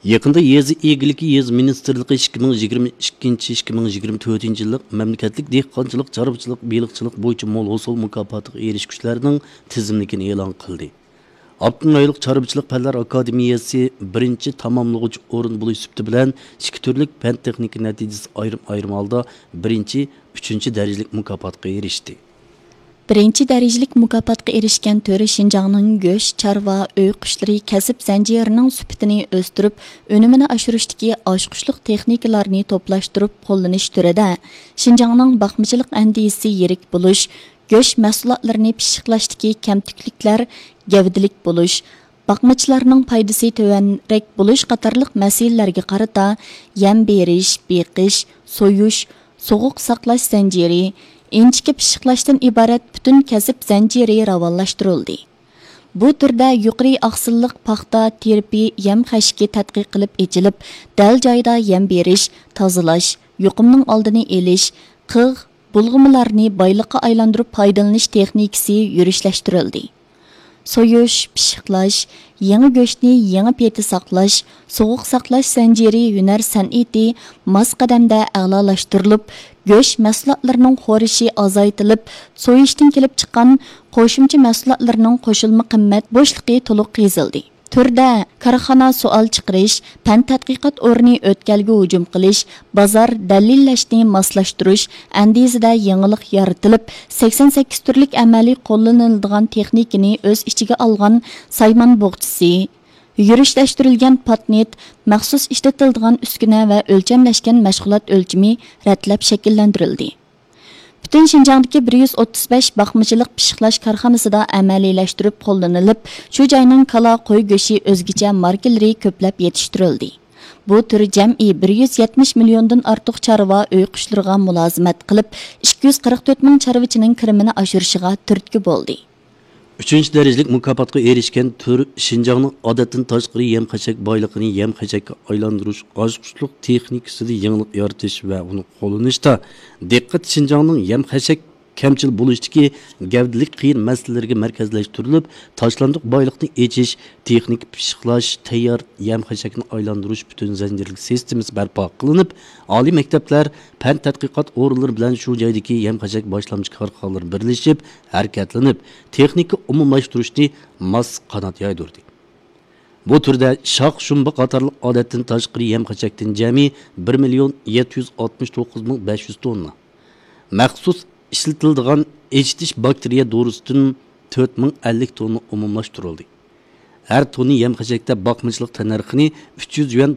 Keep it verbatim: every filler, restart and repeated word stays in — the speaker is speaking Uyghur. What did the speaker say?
يېقىندا يېزا ئىگىلىكى، يېزا مىنىستىرلىقى ئىككى مىڭ يىگىرمە ئىككىنچى، ئىككى مىڭ يىگىرمە تۆتىنچى يىللىق مەملىكەتلىك دېھقانچىلىق، چارۋىچىلىق، بېلىقچىلىق بويىچە مول ھوسۇل مۇكاپاتىغا ئېرىشكۈچىلەرنىڭ تىزىملىكىنى ئېلان قىلدى. ئاپتونوم رايونلۇق چارۋىچىلىق پەنلەر ئاكادېمىيەسى بىرىنچى تاماملىغۇچ ئورۇن بولۇش سۈپىتى بىلەن ئىككى تۈرلۈك پەن تېخنىكا نەتىجىسى ئايرىم-ئايرىم ھالدا بىرىنچى، ئۈچىنچى دەرىجىلىك مۇكاپاتقا ئېرىشتى. بىرىنچى دەرىجىلىك مۇكاپاتقا ئېرىشكەن تۈر شىنجاڭنىڭ گۆش، چارۋا، ئۆي قۇشلىرى كەسىپ زەنجىرىنىڭ سۈپىتىنى ئۆستۈرۈپ، ئۈنۈمىنى ئاشۇرۇشتىكى ئاچقۇچلۇق تېخنىكىلارنى توپلاشتۇرۇپ قوللىنىش تۈرىدە شىنجاڭنىڭ باقمىچىلىق ئەندىزىسى يىرىك بولۇش، گۆش مەھسۇلاتلىرىنى پىششىقلاشتىكى كەمتۈكلۈكلەر، گەۋدىلىك بولۇش، باقمىچىلارنىڭ پايدىسى تۆۋەنرەك بولۇش قاتارلىق مەسىلىلەرگە قارىتا يەم بېرىش، بېقىش، سويۇش، سوغۇق ساقلاش زەنجىرى، ئىنچىكە پىششىقلاشتىن ئىبارەت پۈتۈن كەسىپ زەنجىرى راۋانلاشتۇرۇلدى. بۇ تۈردە يۇقىرى ئاقسىللىق پاختا تىرپى يەم خەشىكى تەتقىق قىلىپ ئېچىلىپ، دەل جايىدا يەم بېرىش، تازىلاش، يۇقۇمنىڭ ئالدىنى ئېلىش، قىغ، بۇلغىمىلارنى بايلىققا ئايلاندۇرۇپ پايدىلىنىش تېخنىكىسى يۈرۈشلەشتۈرۈلدى. سويۇش، پىششىقلاش، يېڭى گۆشنى يېڭى پېتى ساقلاش، سوغۇق ساقلاش زەنجىرى ھۈنەر سەنئىتى ماس قەدەمدە ئەلالاشتۇرۇلۇپ، گۆش مەھسۇلاتلىرىنىڭ خورىشى ئازايتىلىپ، سويۇشتىن كېلىپ چىققان قوشۇمچە مەھسۇلاتلىرىنىڭ قوشۇلما قىممەت بوشلۇقى تولۇق قېزىلدى. تۈردە كارخانا سوئال چىقىرىش، پەن تەتقىقات ئورنى ئۆتكەلگە ھۇجۇم قىلىش، بازار دەلىللەشنى ماسلاشتۇرۇش ئەندىزىدە يېڭىلىق يارىتىلىپ، سەكسەن سەككىز تۈرلۈك ئەمەلىي قوللىنىلىدىغان تېخنىكىنى ئۆز ئىچىگە ئالغان سايمان بوغچىسى، يۈرۈشلەشتۈرۈلگەن پاتنىت، مەخسۇس ئىشلىتىلىدىغان ئۈسكۈنە ۋە ئۆلچەملەشكەن مەشغۇلات ئۆلچىمى رەتلەپ شەكىللەندۈرۈلدى. پۈتۈن شىنجاڭدىكى بىر يۈز ئوتتۇز بەش باقمىچىلىق پىششىقلاش كارخانىسىدا ئەمەلىيلەشتۈرۈپ قوللىنىلىپ، شۇ جاينىڭ كالا، قوي گۆشى ئۆزگىچە ماركىلىرى كۆپلەپ يېتىشتۈرۈلدى. بۇ تۈر جەمئىي بىر يۈز يەتمىش مىليوندىن ئارتۇق چارۋا ئۆي قۇشلىرىغا مۇلازىمەت قىلىپ، ئىككى يۈز قىرىق تۆت مىڭ چارۋىچىنىڭ كىرىمىنى ئاشۇرۇشىغا تۈرتكە بولدى. ئۈچىنچى دەرىجىلىك مۇكاپاتقا ئېرىشكەن تۈر شىنجاڭنىڭ ئادەتتىن تاشقىرى يەم-خەشەك بايلىقىنى يەم-خەشەككە ئايلاندۇرۇش ئاچقۇچلۇق تېخنىكىسىدا يېڭىلىق يارىتىش ۋە ئۇنى قوللىنىشتا دىققەت شىنجاڭنىڭ يەم-خەشەك كەمچىل بولۇشتىكى گەۋدىلىك قىيىن مەسىلىلىرىگە مەركەزلەشتۈرۈلۈپ، تاشلاندۇق بايلىقنى ئېچىش، تېخنىكا پىششىقلاش، تەييار يەم-خەشەكنى ئايلاندۇرۇش پۈتۈن زەنجىرلىك سىستېمىسى بەرپا قىلىنىپ، ئالىي مەكتەپلەر، پەن تەتقىقات ئورۇنلىرى بىلەن شۇ جايدىكى يەم-خەشەك باشلامچى كارخانىلىرى بىرلىشىپ ھەرىكەتلىنىپ، تېخنىكا ئومۇملاشتۇرۇشنى ماس قانات يايدۇردى. بۇ تۈردە شاخ، شۇمبا قاتارلىق ئادەتتىن تاشقىرى يەم-خەشەكتىن جەمئىي بىر مىليون يەتتە يۈز ئاتمىش توققۇز مىڭ بەش يۈز توننا، مەخسۇس ئىشلىتىلىدىغان ئېچىتىش باكتېرىيە دورىسىدىن تۆت مىڭ ئەللىك توننا ئومۇملاشتۇرۇلدى. ھەر توننا يەم-خەشەكتە باقمىچىلىق تەننەرخىنى ئۈچ يۈز يۈەن